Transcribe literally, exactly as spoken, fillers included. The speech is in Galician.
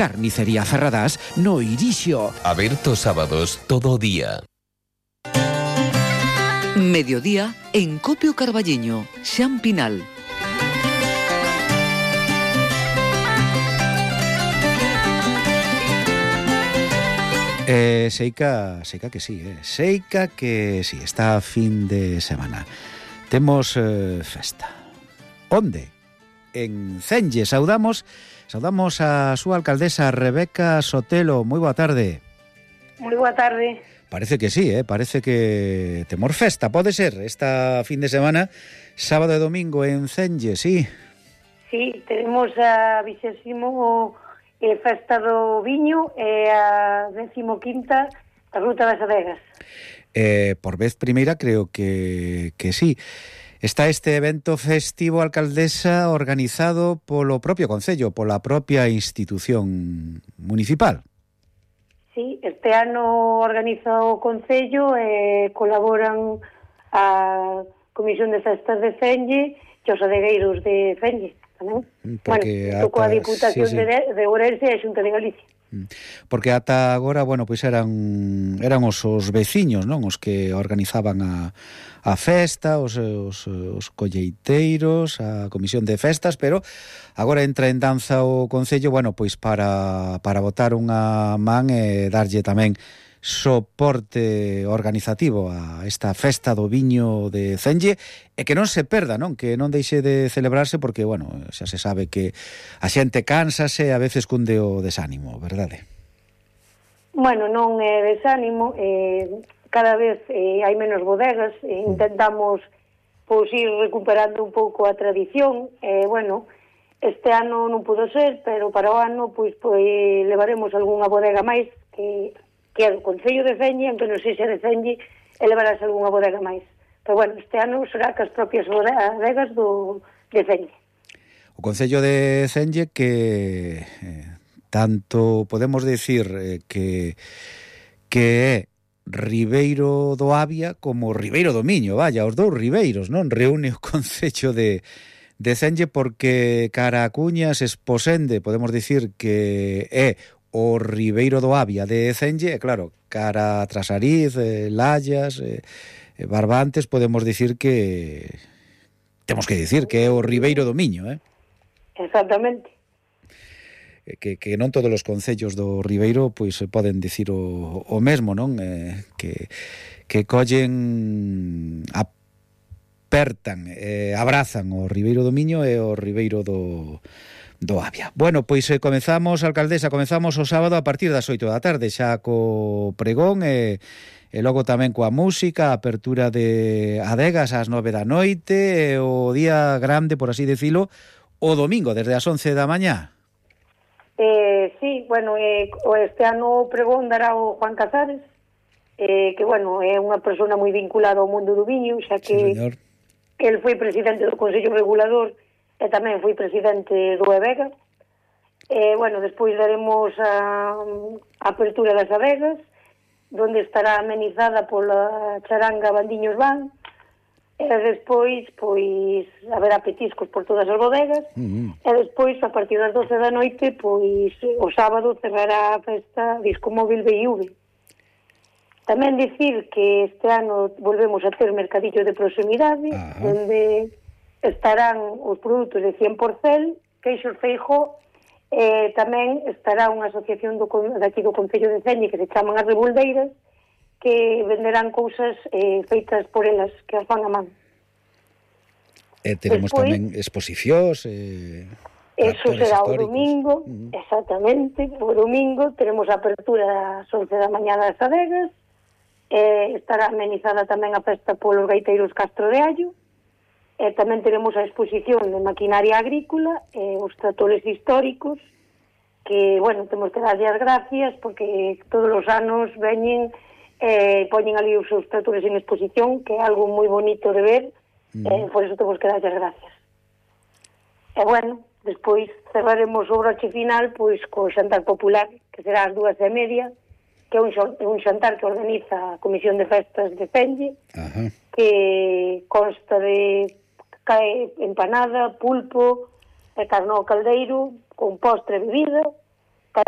Carnicería Ferradás no Irixo. Aberto sábados todo o día. Mediodía en Copio Carballiño, Xan Pinal. Eh, seica, seica que sí, eh. Seica que sí, está a fin de semana. Temos eh, festa. Onde? En Cenlle. Saudamos, saudamos a súa alcaldesa Rebeca Sotelo. Moi boa tarde. Moi boa tarde. Parece que sí, eh? Parece que temos festa, pode ser, esta fin de semana, sábado e domingo en Cenlle, sí? Sí, tenemos a vigésimo eh, festa do viño e a décimo quinta a ruta das adegas. Eh, por vez primeira creo que, que sí. Está este evento festivo, alcaldesa, organizado polo propio Concello, pola propia institución municipal. Sí, este ano organiza o Concello e eh, colaboran a Comisión de Festas de Cenlle e os adegueiros de Cenlle tamén. Porque bueno, coa Diputación sí, sí. de, de Ourense e a Xunta de Galicia. Porque ata agora, bueno, pois eran eran os, os veciños, non? Os que organizaban a, a festa, os, os, os colleiteiros, a comisión de festas, pero agora entra en danza o Concello, bueno, pois para, para botar unha man e darlle tamén soporte organizativo a esta festa do viño de Cenlle e que non se perda, non? Que non deixe de celebrarse porque, bueno, xa se sabe que a xente cánsase a veces cunde o desánimo, verdade? Bueno, non é desánimo, eh, cada vez eh, hai menos bodegas, eh, intentamos pois ir recuperando un pouco a tradición, e eh, bueno, este ano non pudo ser, pero para o ano pois, pois levaremos algunha bodega máis que que é o Concello de Cenlle, aunque non sei se é de Cenlle, elevarás algunha bodega máis. Pero bueno, este ano será que as propias bodegas do, de Cenlle. O Concello de Cenlle que eh, tanto podemos decir eh, que que é Ribeiro do Avia como Ribeiro do Miño, vaya, os dous ribeiros, non? Reúne o Concello de, de Cenlle porque cara a Cuñas esposende, podemos dicir que é o Ribeiro do Avia de Cenlle, e claro, cara a Trasariz, eh, Lallas, eh, Barbantes, podemos dicir que temos que dicir que é o Ribeiro do Miño, eh? Exactamente. Que, que non todos os concellos do Ribeiro pois poden dicir o, o mesmo, non? Eh, que, que collen, apertan, eh, abrazan o Ribeiro do Miño e o Ribeiro do do Avia. Bueno, pois eh, comezamos, alcaldesa, comezamos o sábado a partir das oito da tarde, xa co pregón e, e logo tamén coa música, a apertura de adegas ás nove da noite e o día grande, por así decilo, o domingo, desde as once da mañá. Eh, sí, bueno, eh, este ano o pregón dará o Juan Casares, eh, que, bueno, é unha persona moi vinculada ao mundo do viño, xa que sí, el foi presidente do Consello Regulador e tamén foi presidente do EVEGA. E, bueno, despois daremos a, a apertura das adegas, donde estará amenizada pola charanga Bandiños Van, e despois, pois, haberá petiscos por todas as bodegas, uh-huh. E despois, a partir das doce da noite, pois, o sábado cerrará a festa Disco Móvil B I V. Tamén dicir que este ano volvemos a ter mercadillo de proximidade, uh-huh. Onde estarán os produtos de cien por cento, queixos Feijó, e tamén estará unha asociación do, daqui do Concello de Cenlle que se chaman as Rebuldeiras, que venderán cousas eh, feitas por elas, que as van a man. E teremos despois, tamén exposicións. Eh, eso será o domingo, uh-huh. Exactamente, o domingo teremos a apertura ás once da mañá das adegas, eh, estará amenizada tamén a festa polos gaiteiros Castro de Allo, e tamén teremos a exposición de maquinaria agrícola e os tratores históricos, que, bueno, temos que darlle as gracias porque todos os anos veñen e eh, poñen ali os seus tratores en exposición, que é algo moi bonito de ver, mm. e eh, por eso temos que darlle as gracias. E, bueno, despois cerraremos o broche final pois co xantar popular, que será ás dúas e media, que é un, un xantar que organiza a Comisión de Festas de Cenlle, uh-huh. Que consta de cae empanada, pulpo, e carne ao caldeiro, con postre e bebida,